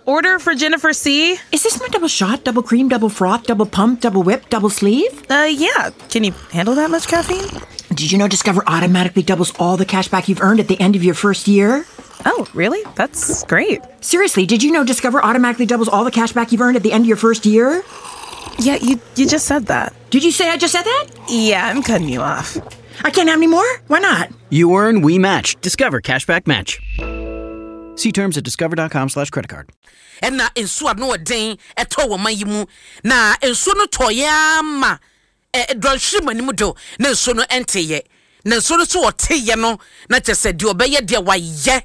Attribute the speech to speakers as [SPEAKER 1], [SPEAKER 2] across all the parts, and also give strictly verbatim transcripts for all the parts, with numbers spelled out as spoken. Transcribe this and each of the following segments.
[SPEAKER 1] Order for Jennifer C.
[SPEAKER 2] Is this my double shot, double cream, double froth, double pump, double whip, double sleeve?
[SPEAKER 1] Uh, yeah. Can you handle that much caffeine?
[SPEAKER 2] Did you know Discover automatically doubles all the cash back you've earned at the end of your first year?
[SPEAKER 1] Oh, really? That's great.
[SPEAKER 2] Seriously, did you know Discover automatically doubles all the cash back you've earned at the end of your first year?
[SPEAKER 1] Yeah, you you just said that.
[SPEAKER 2] Did you say I just said that?
[SPEAKER 1] Yeah, I'm cutting you off.
[SPEAKER 2] I can't have any more? Why not?
[SPEAKER 3] You earn, we match. Discover Cashback Match. See terms at discover dot com slash credit card.
[SPEAKER 4] Ɛna nsuo ano ɔden ɛtɔ wɔ man yi mu na nsuo no tɔeɛ ama ɛ dɔnhwere mu anim do na nsuo no ɛnteyɛ na nsuo no so ɔteyɛ no na kyerɛ sɛ deɛ ɔbɛyɛ deɛ wayɛ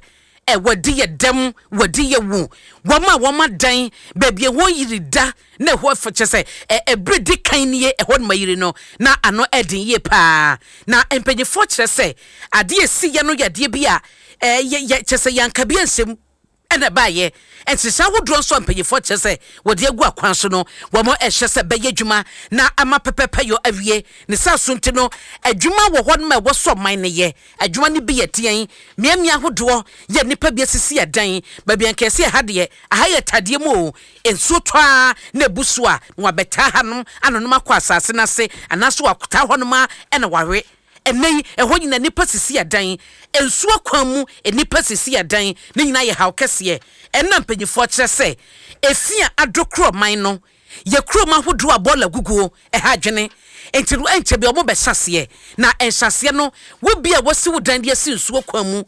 [SPEAKER 4] ɛ wɔdi yɛ dɛm wɔdi yɛ wu wɔn a wɔn adan baabi ɛhɔ yiri da na ɛhɔ fɛ kyerɛ sɛ ɛ ɛbere di kan nie ɛhɔ nom ayiri no na ano ɛden yie paa. Na mpanyinfoɔ kyerɛ sɛ adeɛ esi yɛ no yɛ adeɛ bi a ɛɛ yɛ yɛ kyerɛ sɛ yanka bi nsɛm ɛna ɛbaayɛ. Nhyehyɛ ahodoɔ nso a mpanyinfoɔ kyerɛ sɛ wɔde agu akwan so no wɔn ɛhyɛ sɛ bɛyɛ adwuma na ama pɛpɛpɛ yɔ awie ne saa so. Nti no adwuma wɔ hɔ nom a ɛwɔ so ɔman no yɛ adwuma no bi yɛ teɛn mmeammea ahodoɔ yɛ nnipa bi asisi ɛdan baabi ankɛse. Ɛha deɛ aha yɛ tadeɛ mu o, nsuo tɔ a na ebu so a na wabɛtaa hanom anonom akɔ asase n'ase anaasɛ wataa hɔnom a ɛna wawe. Ɛnɛ yi ɛhɔ nyina nipa sisi adan nsuo kwan mu, nipa sisi adan ne nyinaa yɛ haw kɛseɛ. Ɛnna mpanyinfoɔ kyerɛ sɛ efi a adokoro man no yɛ kurom ahodoɔ a bɔɔla guguo ɛha adwene nti no ɛnkyɛ bi ɔmo bɛhyɛ aseɛ na ɛnhyɛ no wo bi a wɔsi wo dan de asi nsuo kwan mu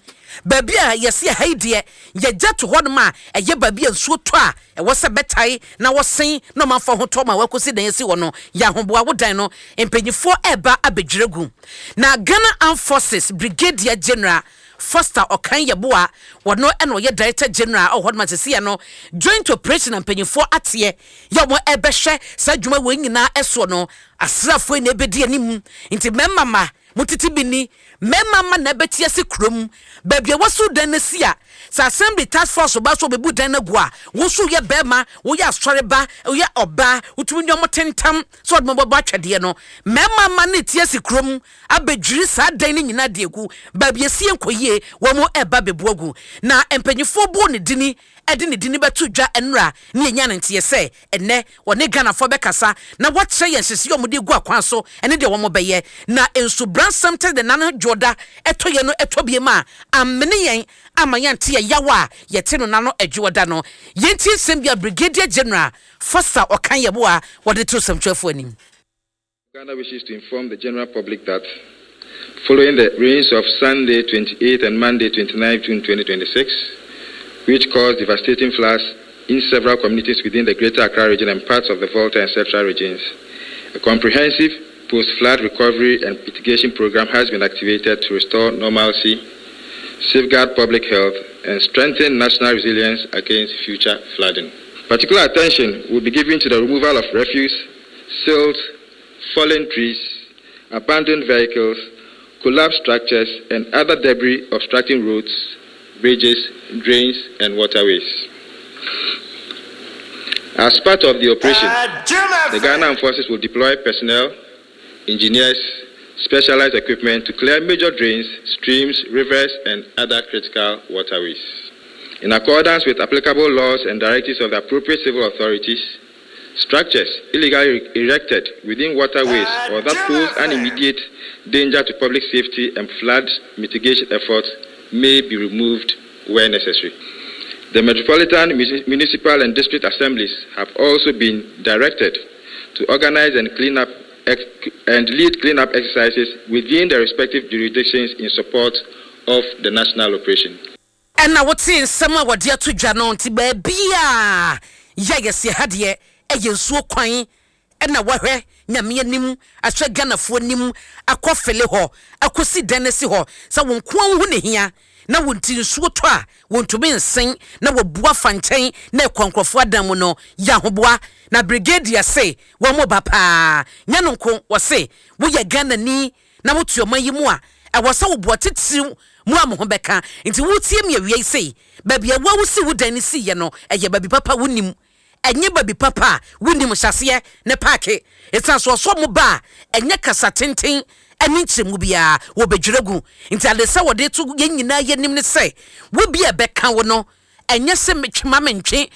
[SPEAKER 4] baabi a yɛsi ɛha yi deɛ yɛgya to hɔnom a ɛyɛ baabi a nsuo tɔ a ɛwɔ sɛ bɛtae na wɔsen na ɔmanfoɔ ho tɔ ma wɔakɔsi dan asi hɔ no yɛ ahoboa wo dan no mpanyinfoɔ ɛreba abɛdwira gu. Na Ghana Armed Forces Brigadier General Foster Ɔkan Yɛboa wɔno ɛna ɔyɛ Director General a ɔwɔ hɔnom asɛsia no joint operation na mpanyinfoɔ ateɛ yɛ wɔn ɛbɛhwɛ saa adwuma wɔn nyinaa ɛsoɔ no asraafoɔ yi na ɛbɛdi anim. Nti mmarima ma motete bi ni mmarima ma na ɛbɛte ase kurom baabi a wɔso dan no si a sɛ assembly task force ba so ɔbɛbu dan no agu a wo nso woyɛ bɛrima, woyɛ asɔre ba, woyɛ ɔbaa, wotumi ne ɔmo tentam sɛ ɔde mo bɛbɔ atwɛdeɛ no. Mmarima ma ne te ase kurom abɛdwiri saa dan no nyinaa de agu baabi esi nkɔ yie wɔn mo ɛba bɛbu agu. Na mpanyinfoɔ bɔ ne dini ɛde ne dini bɛto dwa nnura ne yɛnya ne nteɛ sɛ ɛnɛ wɔne Ghanafoɔ bɛkasa na wɔkyerɛ yɛn nhyehyɛ a wɔde gu akwan so ɛne deɛ wɔn bɛyɛ na nsubransɛm tɛ de nane dwoɔda ɛtɔ yɛn no ɛtɔ bie mu a amene yɛn ama yɛnte yɛ yaw a yɛte no nano adwoɔda no. Yɛntie nsɛm bi a Brigadier General Foster Ɔkan Yɛboa wɔde to nsɛmtwerɛfoɔ anim.
[SPEAKER 5] Ghana wishes to inform the general public that following the rains of Sunday twenty-eight and Monday twenty-nine June twenty twenty-six, which caused devastating floods in several communities within the Greater Accra Region and parts of the Volta and Central regions, a comprehensive post-flood recovery and mitigation program has been activated to restore normalcy, safeguard public health, and strengthen national resilience against future flooding. Particular attention will be given to the removal of refuse, silt, fallen trees, abandoned vehicles, collapsed structures, and other debris obstructing roads, bridges, drains, and waterways. As part of the operation, the Ghana Armed Forces will deploy personnel, engineers, specialized equipment to clear major drains, streams, rivers, and other critical waterways. In accordance with applicable laws and directives of the appropriate civil authorities, structures illegally erected within waterways or that pose an immediate danger to public safety and flood mitigation efforts may be removed where necessary. The metropolitan, municipal, and district assemblies have also been directed to organize and clean up and lead cleanup exercises within their respective jurisdictions in support of the national operation.
[SPEAKER 4] Ɛna wote nsɛm a wɔde ato dwa no nti baabi a yɛ yɛsi ha deɛ ɛyɛ nsuo kwan ɛna wɔhwɛ Nyame anim ahwɛ Ghanafoɔ anim akɔ fele hɔ akɔsi dan no si hɔ sɛ wɔn nko ho ne hia na wɔn ti nsuo tɔ a wɔntumi nsen na wɔbu afa nkyɛn na ɛkɔ nkurɔfoɔ adan mu no yɛ ahoboa. Na brigadier se wɔn mo ba paa nyɛ no nko wɔse woyɛ Ghanani na wotu ɔman yi mu a ɛwɔ sɛ woboa titiriw mu a mo ho bɛka. Nti wotie mi awia yi sei baabi a wosi wo dan no si yɛ no ɛyɛ baabi papa wonim ɛnyɛ baabi papa a wonim hyɛseɛ ne park ɛsiane so ɔsɔ mo ba a ɛnyɛ kasa tenten ɛne nkyerɛmu biara wɔbɛdwerɛ gu. Nti ade sɛ wɔde to yɛn nyinaa yɛnim ne sɛ wo bi a ɛbɛka wo no ɛnyɛ sɛ metwe ma mentwe.